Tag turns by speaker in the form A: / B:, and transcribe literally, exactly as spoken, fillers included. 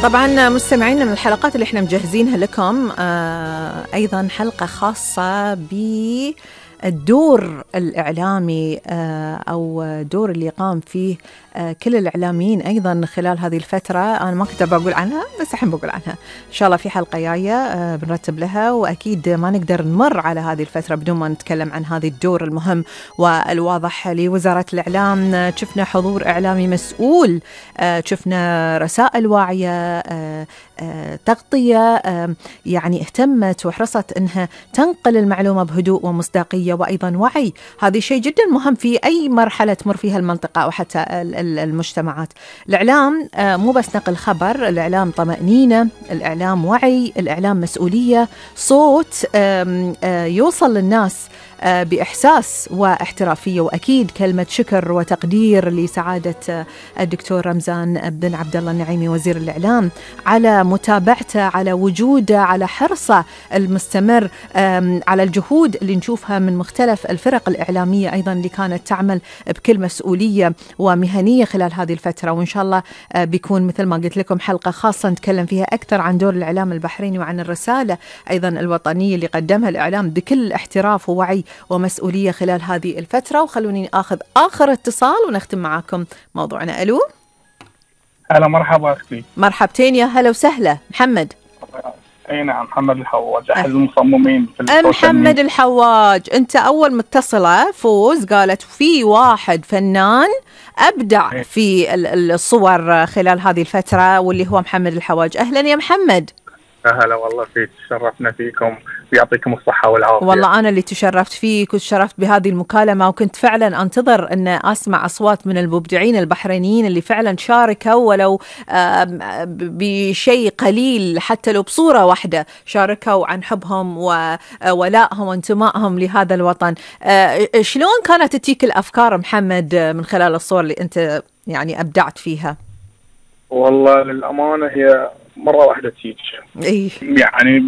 A: طبعا مستمعينا، من الحلقات اللي احنا مجهزينها لكم آه أيضا حلقة خاصة بالدور الإعلامي آه أو دور اللي قام فيه آه كل الإعلاميين أيضا خلال هذه الفترة. أنا ما كنت بقول عنها بس الحين بقول عنها إن شاء الله في حلقة جاية آه بنرتب لها، وأكيد ما نقدر نمر على هذه الفترة بدون ما نتكلم عن هذه الدور المهم والواضح لوزارة الإعلام. شفنا حضور إعلامي مسؤول، آه شفنا رسائل واعية، آه آه تغطية آه يعني اهتمت وحرصت أنها تنقل المعلومة بهدوء ومصداقية وأيضا وعي. هذا شيء جدا مهم في أي مرحلة تمر فيها المنطقة أو حتى المجتمعات. الإعلام آه مو بس نقل خبر، الإعلام طمأنينة، الإعلام وعي، الإعلام مسؤولية، صوت آه آه يوصل للناس آه بإحساس واحترافية. وأكيد كلمة شكر وتقدير لسعادة الدكتور رمزان بن عبد الله النعيمي وزير الإعلام على متابعته، على وجوده، على حرصه المستمر، على الجهود اللي نشوفها من مختلف الفرق الإعلامية أيضا اللي كانت تعمل بكل مسؤولية ومهنية خلال هذه الفترة. وإن شاء الله بيكون مثل ما قلت لكم حلقة خاصة نتكلم فيها أكثر عن دور الإعلام البحريني وعن الرسالة أيضا الوطنية اللي قدمها الإعلام بكل احتراف ووعي ومسؤولية خلال هذه الفترة. وخلوني أخذ آخر اتصال ونختم معاكم موضوعنا. ألو،
B: هلا مرحبا أختي.
A: مرحبتين، يا هلا وسهلا. محمد.
B: أي نعم، محمد الحواج أحد المصممين في السوشيال
A: محمد
B: ميديا.
A: الحواج، أنت أول متصلة فوز قالت في واحد فنان أبدع في الصور خلال هذه الفترة واللي هو محمد الحواج. أهلا يا محمد.
B: هلا والله فيك، تشرفنا فيكم ويعطيكم الصحة والعافية.
A: والله أنا اللي تشرفت فيك وتشرفت بهذه المكالمة، وكنت فعلا أنتظر أن أسمع أصوات من المبدعين البحرينيين اللي فعلا شاركوا ولو بشيء قليل، حتى لو بصورة واحدة شاركوا عن حبهم وولائهم وانتمائهم لهذا الوطن. شلون كانت تتيك الأفكار محمد من خلال الصور اللي أنت يعني أبدعت فيها؟
B: والله للأمانة هي مرة واحدة تيجي،
A: إيه؟
B: يعني